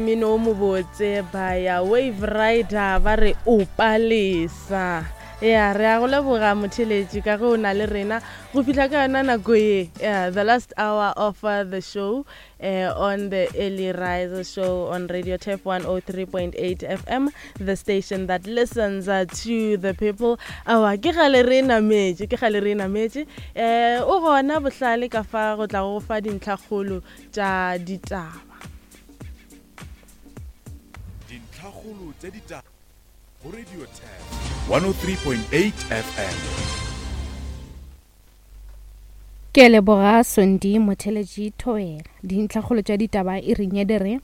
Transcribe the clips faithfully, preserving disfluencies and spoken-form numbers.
Mmino o mobotse ba ya Wave Rider ba re o palesa. Ya re a go leboga motheletši ka ge o na le rena go fihla ka yona nako ye, yeah, the last hour of uh, the show uh, on the Early Rise show on Radio Turf one oh three point eight F M, the station that listens uh, to the people. Awa ke gale re nametše, ke gale re nametše. Eh, o gona bohlale ka fa go tla go fa dintlhakgolo tša ditaba. Dintlhakgolo tša ditaba go Radio Turf one oh three point eight F M. Ke leboga Sondi Motheletši Thobela. Dintlhakgolo tša ditaba e reng ya dire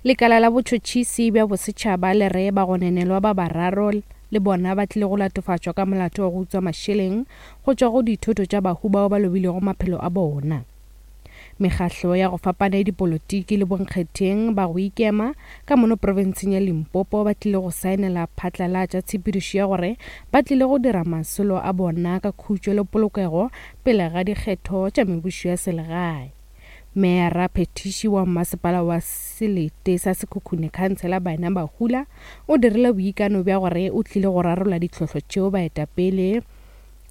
lekala la botšhotšhisi bja bosetšhaba le re bagononelwa ba bararo le bona ba tlile go latofatšwa ka molato wa go utswa mašeleng go tšwa go dithoto tša bahu bao ba lobilego maphelo a bona. Mekgahlo ya go fapana ya dipolotiki le bonkgetheng ba go ikema ka mono profenseng ya Limpopo ba tlile go saenela phatlalatša tshepedišo ya gore ba tlile go dira masolo a bona ka khutšo le polokego pele ga dikgetho tša mebušo ya selegae. Meyara Phetiši wa masepala wa Selete sa Sekhukhune Khansela Baena Bahula o dirile boikano bja gore o tlile go rarolla ditlhohlo tšeo baetapele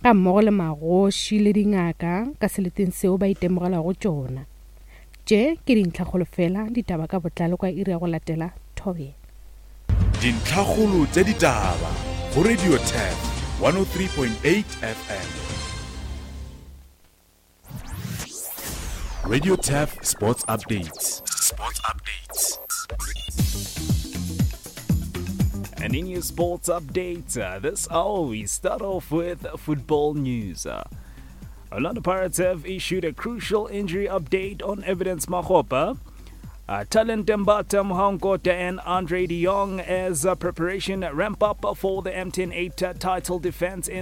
ga mmogo le magoši le dingaka ka seleteng seo ba itemogelago tšona. Tše ke dintlhakgolo fela, ditaba ka botlalo ka iri ya go latela Thobela. Dintlhakgolo tša ditaba go Radio Turf one oh three point eight F M. Radio Turf Sports Updates. Sports Updates. And in your sports updates, uh, this hour we start off with football news. Uh, Orlando Pirates have issued a crucial injury update on Evidence Makgopa, uh, Talent Mbata Mhankota and Andre de Jong as uh, preparation ramp up for the M T N eight uh, title defense in